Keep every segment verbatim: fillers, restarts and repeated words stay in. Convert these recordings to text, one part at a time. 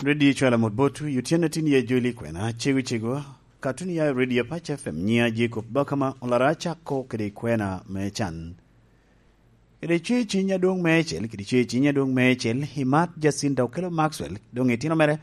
Redio Cwala mot botwu, i otyeno tin ye Joel Ikwena, cego cego, katun ya i Redio Pac F M, nyiŋa Jacob Bakama, olara cako kede ikwena me can. Kede cwe ciny adwoŋ meicel, kede cwe ciny adwoŋ meicel, i Mat Jacinta Okello Maxwell, doŋ itino mere,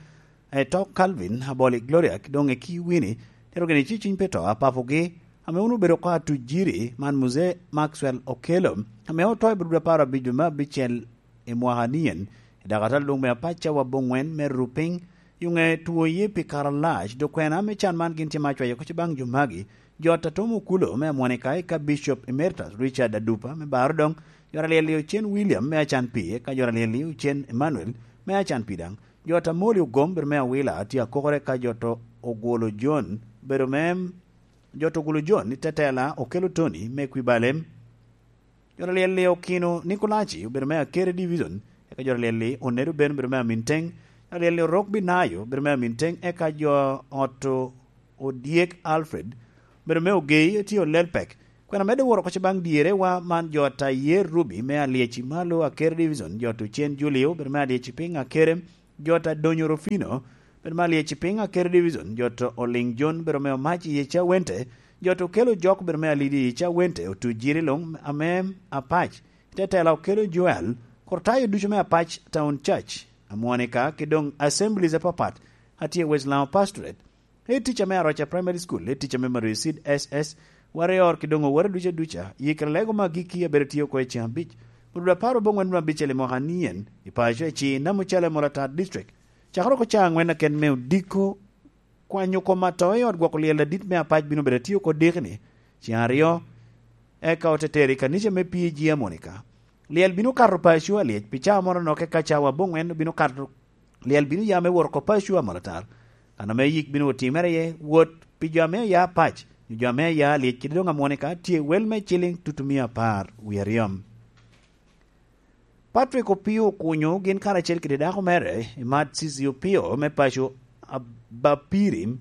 Eto Calvin Aboli Gloria, doŋ i Kiwini, tero kede cwe ciny pe to, apapogi, ame wun obedo oko atujiri, man Muzee Maxwell Okello, ame oto i Bududu apar abic dwe me abicel i mwaka nien, i dakatala adwoŋ me apac cawa aboŋwen me Rupiny, yuŋe two ye pi kare alac, dok kwena me can man gin tye ma acwayo oko baŋ jo magi, jo ata Tom Okulo me Amwonika, eka Bishop Emeritus Richard Adupa me Barodoŋ, jo ata Lyel Ocen William me Acan Pi, eka jo ata Lyel Ocen Emmanuel me Acan Pi daŋ, jo ata Moli Ogom bedo me Awila, tye akokere ka jo ata Ogwolo John bedo me, jo ata Ogwolo John i Tetela Okello Tony me Kwibalem, jo ata Lyel Okino Nikolaci obedo me Akere Division, eka jo ata Lyel Onedo Ben obedo me Aminteng, jo ata Lyel Orok Binayo obedo me Aminteng, eka jo ata Odyek Alfred obedo me Ogei, tye Olelpek. Kwena medde woro oko baŋ dyerewa man jo ata Yer Ruby me Alyeci Malo Akere Division, jo ata Ocen Julio obedo me Alyeci Piny Akere, jo ata Donyo Rufino, bedo me Alyeci Piny Akere Division, jo ata Oliŋ John, bedo me Omac i Cawente, jo ata Okello Jok, bedo me Alidi i Cawente, Otu Jiri luŋ ame Apac, Tetela Okello Joel, Kortayo ducu me Apac Town Church, Amwonika, ki doŋ assemblies apapat, atye West Lango Pastorate, Head teacher me Aroca Primary School, head teacher me Mario Seed S S, Warrior, ki doŋ owote duca duca, yikere lego me agikki abedo tye oko i ceng abic, Bududu apar aboŋwen me abicel i mwaka nien, i paco eci Namucala i Molatar District. Cakere oko ca aŋwen aken me odiko, kwanyo kom ato i ot gwoko lyel adit me Apac bino bedo tye oko dikini, ceng aryo, eka ote tero i kanica me P G Amwonika. Lyel bino kato paco alyec pi cawa moro nok, eka cawa aboŋwen bino kato Lyel bino ya me wot oko paco amalatar. Kan ame yik bino otimere iye, wot pi jo ame aya pac, nyo jo ame aya lyec kede doŋ Amwonika, tye wel me ciliŋ tutumia apar wie aryo. Patrick Opio Okunyo gin karacel kede dako mere, Imat Cici Opio me paco Abapiri,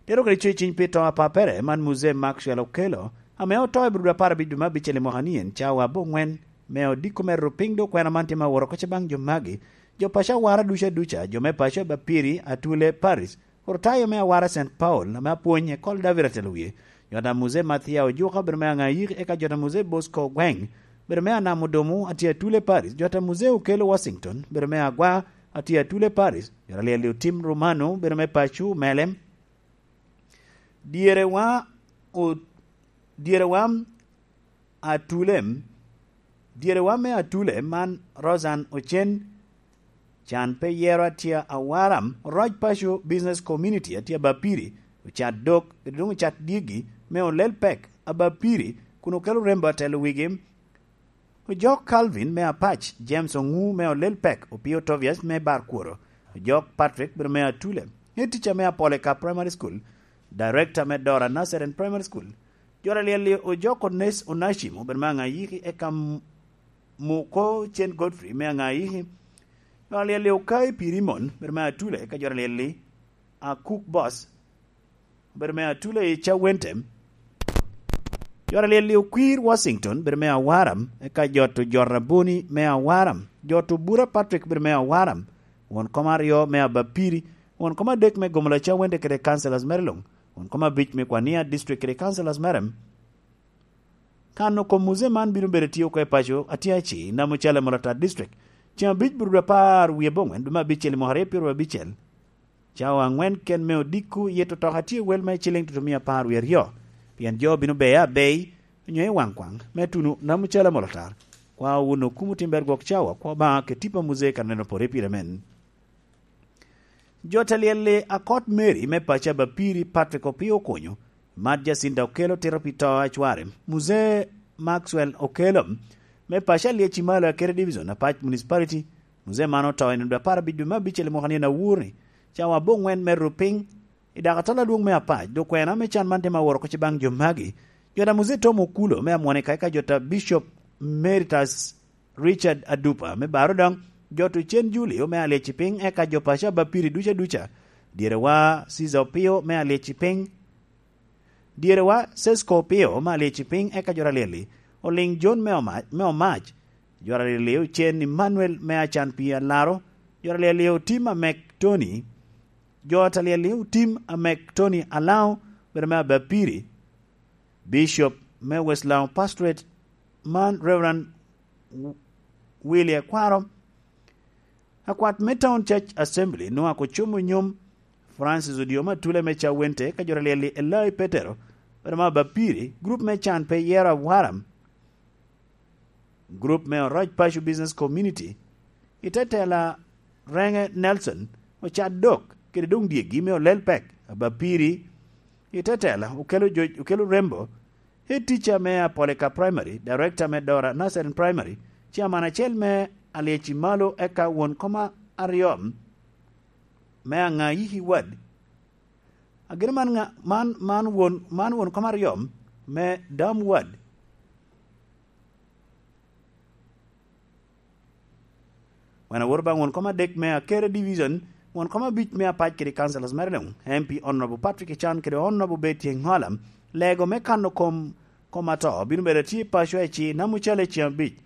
tero kede ceciny pi to apappere man Muzee Maxwell Okello, ame oto i Bududu apar abic dwe me abicel i mwaka nien, cawa aboŋwen, me odiko me rupiny dok kwena man tye ma woro oko baŋ jo magi, jo paco awara duca duca, jo me paco Abapiri, Atule Paris, Ortayo me awara Saint Paul, ame apwony, Ekol David atelo wie, jo ata Muzee Mathia Ojuka, bedo me Aŋayiki, eka jo ata Muzee Bosco Ogweng, bedo me Anam Odomo, atye Atule Paris, jo ata Muzee Okello Washington, bedo me Agwa, atye Atule Paris, jo ata Lyel Otim Romano, bedo me paco Melem, dyerewa, o-, dyerewa Atule, dyerewa me Atule man Rosan Ocen, can pe yero atye awara, Roc Paco Business Community atye Abapiri, ocat dok, kede doŋ ocat dyegi me Olel Pek Abapiri, kun Okello Rembo atelo wigi, Ojok Calvin me Apac, James Oŋu me Olel Pek, Opio Tobias me Barkworo, Ojok Patrick bedo me Atule, head teacher me Apoleka Primary School, director me Dora Nursery and Primary School, jo ata Lyel Ojok Ones Onashim obedo me Aŋayiki, eka M-, Muko Cen Godfrey me Aŋayiki, jo ata Lyel Okai Pirimon bedo me Atule, eka jo ata Lyel Akuk Boss obedo me Atule i Cawente. Jo ata Lyel Okwir Washington bedo me Awara, eka jo ata Ojot Aboni me Awara, jo ata Obura Patrick bedo me Awara, won kom aryo me Abapiri, won kom adek me Gomola Cawente kede councillors mere luŋ, won kom abic me Kwania District kede councillors mere. Kano kom Muzee man bino bedo tye oko i paco atye aci, Namucala Molatar District, ceŋ abic Bududu apar wie aboŋwen dwe me abicel i mwaka aryo pyeraryo abicel. Cawa aŋwen ken me odiko yito toka tye wel me ciliŋ tutumia apar wie aryo, pien jo bino beye abei, onyo i waŋ kwaŋ, me tuno Namucala Molatar. Kwa wun okumo timber gwok cawa, kwa Obaŋa kede tipo a Muzee kan neno pore pire men. Jo ata Lyel Akot Mary me paco Abapiri, Patrick Opio Okonyo, Mat Jacinta Okello tito pi to a cware, Muzee Maxwell Okello, me paco Alyeci Malo Akere Division, Apac Municipality, Muzee man oto i nino dwe apar abic dwe me abicel i mwaka nino awur-ni, cawa aboŋwen me rupiny, i dakatala adwoŋ me Apac, dok kwena me can man tye ma woro oko baŋ jo magi, jo ata Muzee Tom Okulo me Amwonika, eka jo ata Bishop Emeritus Richard Adupa me Barodoŋ, jo ata Ocen Julio me Alyeci Piny, eka jo paco Abapiri duca duca, dyerewa Caesar Opio me Alyeci Piny, dyerewa Sesko Opio me Alyeci Piny, eka jo ata Lyel Oliŋ John me Oma-, me Omac, jo ata Lyel Ocen Emmanuel me Acan Pi Alaro, Jo alyel-li otim Amek Tony, jo ata alyel-li otim Amek Tony Alao, bedo me Abapiri, Bishop me West Lango Pastorate, man Reverend Willie Akwaro, akwat me Town Church Assembly, Noah Kocomo Nyom, Francis Odio Matula me Cawente, ka jo alyel-li Elai Petero, bedo me Abapiri, group me Can Pe Yero Awaram, group me Oroc Paco Business Community, i te tela Renge Nelson, Ocadok, kede doŋ dyegi me Olel Pek, Abapiri, i te tela Okelo Jo-, Okelo Rembo, head teacher me Apolika Primary, director me Dora Nursery Primary, chairman acel me Alyeci Malo, eka won koma aryo me Aŋayiki Ward. Agin man ŋa-, man, man won, man won koma aryo me Dam Ward. Wan aworo baŋ won koma adek me Akere Division, won koma abic me apac kede councilors mere luŋ, M P Honorable Patrick Echan kede Honorable Betty Eŋola. Lego me kano kom, kom ato bino bedo tye i paco eci Namucale ceŋ abic,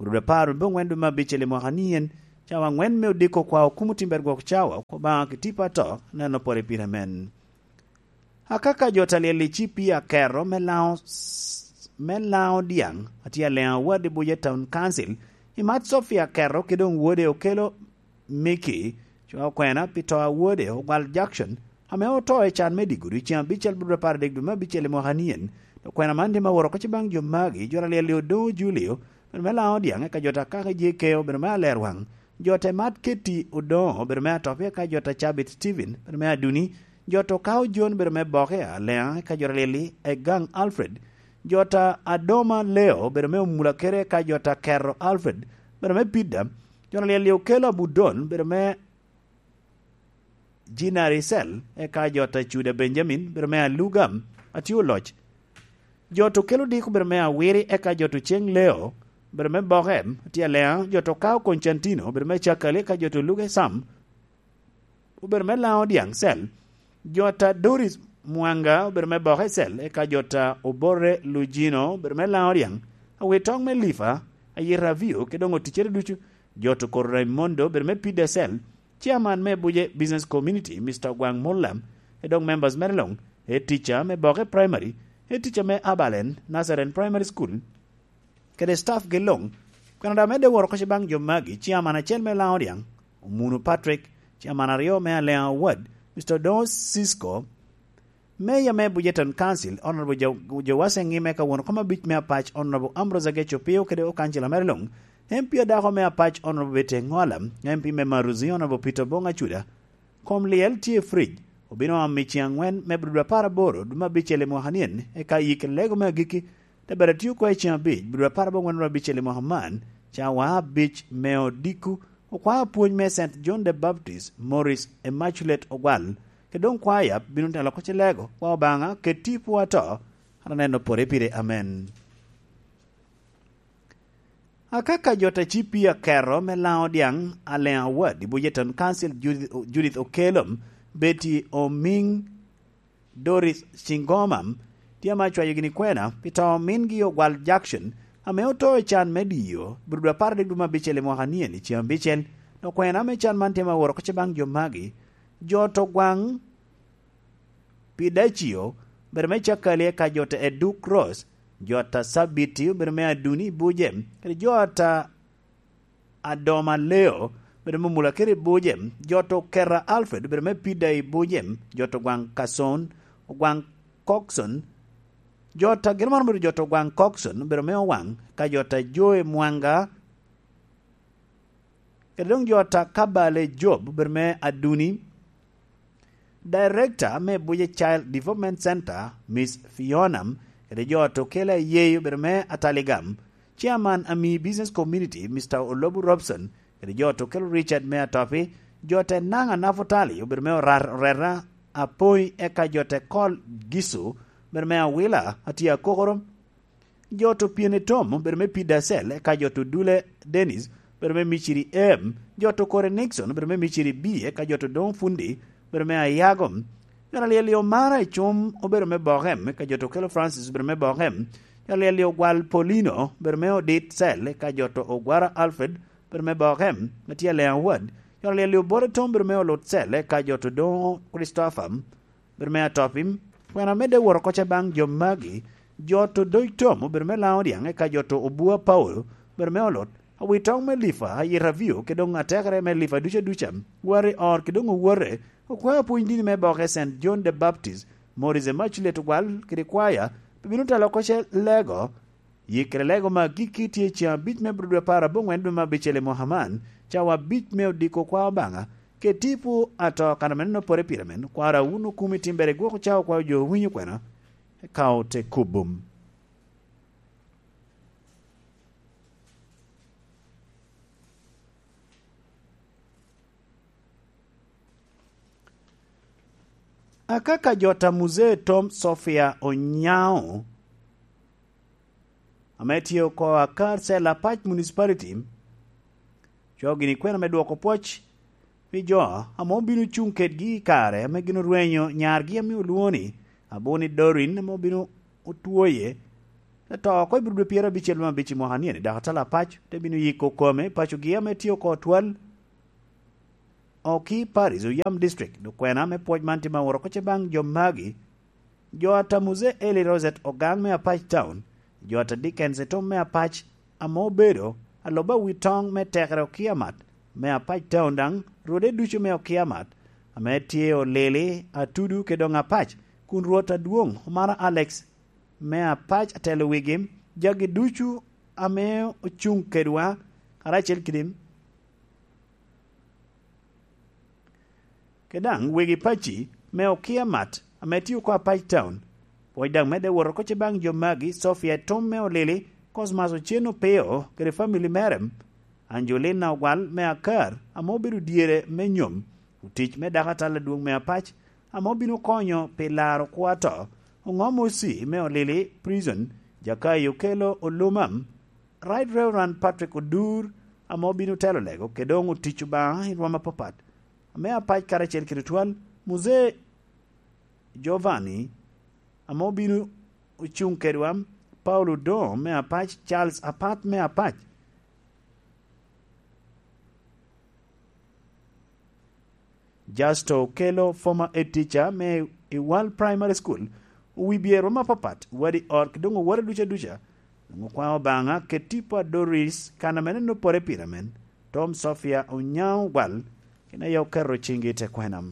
orube apar me oŋwen dwe me abicel i mwaka nien, cawa aŋwen me odiko kwa okumo timber gwok cawa, Obaŋa ki tipo ato, neno pore pire men. Akaka jo ta lyel i cipi Akero me Laŋo, me Laŋo Dyaŋ, atye Aleŋo Award i Buja Town Council, i mat Sophia Akero kede doŋ wode Okelo Mickey, co okwena pi to a wode Ogwal Jackson, ame oto i can me Digudi ceŋ abicel bot apar adek dwe me abicel i mwaka nien. Okwena man tye ma woro oko ci baŋ jo magi, jo ta lyel i Odoŋo Julio, bene me Laŋo Dyaŋ, eka jo ta Kaka Jekeo, bene me Alerwaŋ, jo te mat Keti Odoŋo, obedo me Atop, eka jo ta Cabit Steven, obedo me Aduni, jo to Kao Jon, obedo me Boke, Aleŋa, eka jo ta lyel-li Egaŋ Alfred, jo ta Adoma Leo, obedo me Omula Kere, eka jo ta Kero Alfred, obedo me Pida, jo ta lyel-li Okelo Abudon, obedo me Jinari Cell, eka jo ta Cuda Benjamin, obedo me Alugam, atye oloc, jo to Kelo Diko, obedo me Awiri, eka jo to Ceng Leo, obedo me Boke, atye Aleŋa, jo to Kao Constantino, obedo me Cakali, eka jo to Luke Sam, obedo me Laŋo Dyaŋ Cell, jo ta Doris Mwanga, obedo me Boke Cell, eka jo ta Obore Lujino, obedo me Laŋo Dyaŋ, Awitoŋ me Lifa, Ayita Avio, kede doŋ oticcere ducu, jo to Koro Raimondo, obedo me Pida Cell, chairman me Buje Business Community, Mister Ogwaŋ Mulla, e dok members mere luŋ, head teacher me Boke Primary, head teacher me Abalen Nazarene Primary School, kede staff gi luŋ. Kwena da medde woro oko ci baŋ jo magi, chairman acel me Laŋo Dyaŋ, Omunu Patrick, chairman aryo me Aleŋa Ward, Mister Odoŋo Cisco, Mayor me Bujeton Council, Honorable Jo-, Jowase Ngime, ka won koma abic me Apac, Honorable Ambrose Ageco Pio, kede okancila mere luŋ, M P adako me Apac, Honorable Betty Eŋola, M P me Maruzi, Honorable Peter Bong Acuda, kom lyel tye fridge, obino oam i ceŋ aŋwen me bro dwe apar aboro, dwe me abicel i mwaka nien, eka yik lego me agikki, te bed atio oko i ceŋ abic, bro dwe apar aboŋwen dwe abicel i mwaka man, cawa abic me odiko, okwaya pwony me Saint John the Baptist, Morris Immaculate Ogwal, kede doŋ kwaya bino telo oko ci lego, kwa Obaŋa, keti pwo ato, an aneno pore pire. Amen. Akaka jo ta cipi Akero me Laŋo Dyaŋ, Aleŋa Ward, i Bujeton Council, Judith, Judith Okello, Betty Omiŋ, Doris Cingoma, tye ame acwayo gini kwena pi to mingi Ogwal Jackson, ame oto i can me Dio, bro dwe apar adek dwe me abicel i mwaka nien i ceŋ abicel. Dok kwena me can man tye ma woro oko ci baŋ jo magi, jo to Gwaŋ Pidacio, obedo me Cakali, eka jo ta Eduk Cross, jo ta Sabiti, obedo me Aduni Buje, kede jo ta Adoma Leo, obedo me Mula Kere Buje, jo ta Okera Alfred, obedo me Pida i Buje, jo ta Ogwaŋ Kason, Ogwaŋ Coxon, jo ta gin maro obedo jo ta Ogwaŋ Coxon, obedo me Owaŋ, ka jo ta Joe Mwanga, kede doŋ jo ta Kabale Job, obedo me Aduni, Director me Buje Child Development Center, Miss Fiona, kede jo ta Okelo Ayei, obedo me Ataligam, Chairman Ami Business Community, Mister Olobu Robson, kede jo ta Okelo Richard me Atopi, jo ta Enaŋa Nafutali, obedo me Orar-, Orera Apoi, eka jo ta Kol Gisu, obedo me Awila, atye Akokoro, jo ta Opyene Tom, obedo me Pida Cell, eka jo ta Odule Dennis, obedo me Miciri M, jo ta Okore Nixon, obedo me Miciri B, eka jo ta Odoŋo Fundi, obedo me Ayago. Jo ta Lyel-li Omara Ecum, obedo me Bok M, eka jo ta Okelo Francis, obedo me Bok M. Jo ta Lyel-li Ogwal Polino, obedo me Odit Cell, eka jo ta Ogwara Alfred, obedo me Bok M, atye Aleŋa Ward. Jot a lyel i Obore Tom obedo me Olut Cel, eka Jot Odoŋo Christopher obedo me Atopim. Kwena medde wot oko ca baŋ jo magi, Jot Odoc Tom obedo me Laŋo Dyaŋ, eka Jot Obua Paulo obedo me Olut. Awitoŋ me Lifa, Ayita Vio, kede doŋ atekere me Lifa duc aduca, Wari Or, kede doŋ Owote, okwao pwony dini me boke Saint John the Baptist, Morris Immaculate Ogwal, kede kwaya, pe bino telo oko ce lego. Yikkere lego me agikki tye ceŋ abic me Abril dwe apar aboŋwen dwe me abicel i Mohaman, cawa abic me odiko kwa Obaŋa, kede tipo ato kan amenno pore pire men, kwara wun okumi timbere gwok cawa kwa jo winyo kwena, eka ote kubum. Akaka jot a Muzee Tom Sofia Onyao, ame tye oko akar cel apac municipality, coo gini kwena me dwoko pwoc pi jo ame obino cuŋ kedgi i kare ame gin orwenyo nyargi ame olwoŋo ni Abuni Dorin ame obino otwoye, te to oko i Abril dwe pyero abicel me abic i mwaka ni eni, dok atala apac te bino yiko kome i pacogi ame tye oko twal. Oki Paris, Oyam District, dok kwena me pwoc man tye ma woro oko ce baŋ jo magi. Jo ata Muzee Eli Rosette Ogang me Apac Town, jo ata Dickens Etom me Apac, ame obedo aloba wi toŋ me tekere Okiamat me Apac Town daŋ rwode ducu me Okiamat, ame tye Olili, Atudu, kede doŋ Apac, kun Rwot adwoŋ Omara Alex me Apac atelo wigi, jagi ducu ame ocuŋ kedwa karacel kede kede daŋ wegi paci me Okiamat ame tye oko Apac Town. Pwoc daŋ medde wot oko ce baŋ jo magi, Sofia Tom me Olili, Cosmas Ocen Opeo kede famili mere, Angelina Ogwal me Akar ame obedo dyere me nyom, otic me dako atal adwoŋ me Apac ame obino konyo pi laro kwo ato, Oŋom Osi me Olili Prison, Jakayo Okelo Oluma, Right Reverend Patrick Odur ame obino telo lego kede doŋ otic Obaŋa i rwom apapat, ame Apac karacel kede twal, Muzee Giovanni ame obino ocuŋ kedwa, Paulo Odoŋo me Apac, Charles Apat me Apac, Justo Okelo, former head teacher me Iwal Primary School, owibye rwom apapat, wadi ot, kede doŋ owore duca duca, doŋ okwao Obaŋa kede tipo a Doris, kan ame neno pore pire men, Tom Sofia Onyaŋ Ogwal, gin aye oketo ciŋgi i te kwena.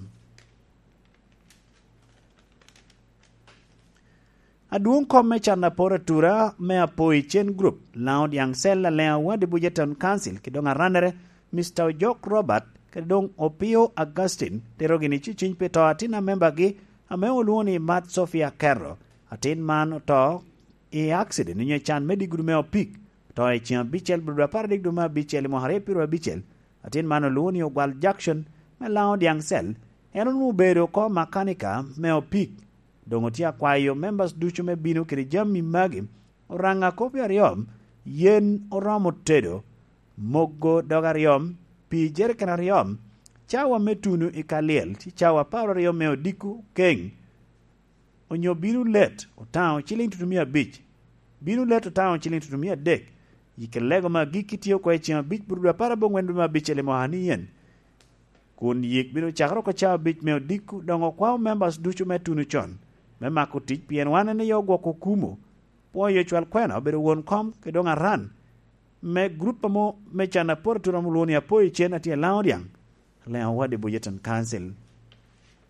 Adwoŋ kom me can apor atura me Apoi Cen Group, Laŋo Dyaŋ Cell, Aleŋ Awadi Buja Town Council, kede doŋ arannere, Mister Ojok Robert, kede doŋ Opio Augustine, tero gini ciciny pi to atin a membagi ame olwoŋo ni Mat Sofia Kerro. Atin man oto i accident onyo i can me digiri me opik, oto i ceŋ abicel, Abril apar adek dwe me abicel i mwaka aryo pyeraryo abicel. Atin man olwoŋo ni Ogwal Jackson me Laŋo Dyaŋ Cell, en onwoŋo obedo oko makanika me opik. Doŋ otye akwayo members ducu me bino kede jami magi, oraŋa kopi aryo, yen oromo tedo, mogo dog aryo, pii jeriken aryo, cawa me tuno i ka lyel, ci cawa apar aryo me odiko keŋ, onyo bino let otaŋo ciliŋ tutumia abic, bino let otaŋo ciliŋ tutumia adek, i kede lego me agikki tye oko i ceŋ abic, Abril apar aboŋwen dwe me abicel i mwaka ni yen. Kun yik bino cakere oko cawa abic me odiko, doŋ okwao members ducu me tuno con, me mako tic, pien wan en aye ogwoko okumo, pwoyo cwal kwena, obedo won kom, kede doŋ aran me gurup amo me can apor atura ame olwoŋo ni Apoi Cen, atye i Laŋo Dyaŋ, Aleŋ Awadi Buja Town Council.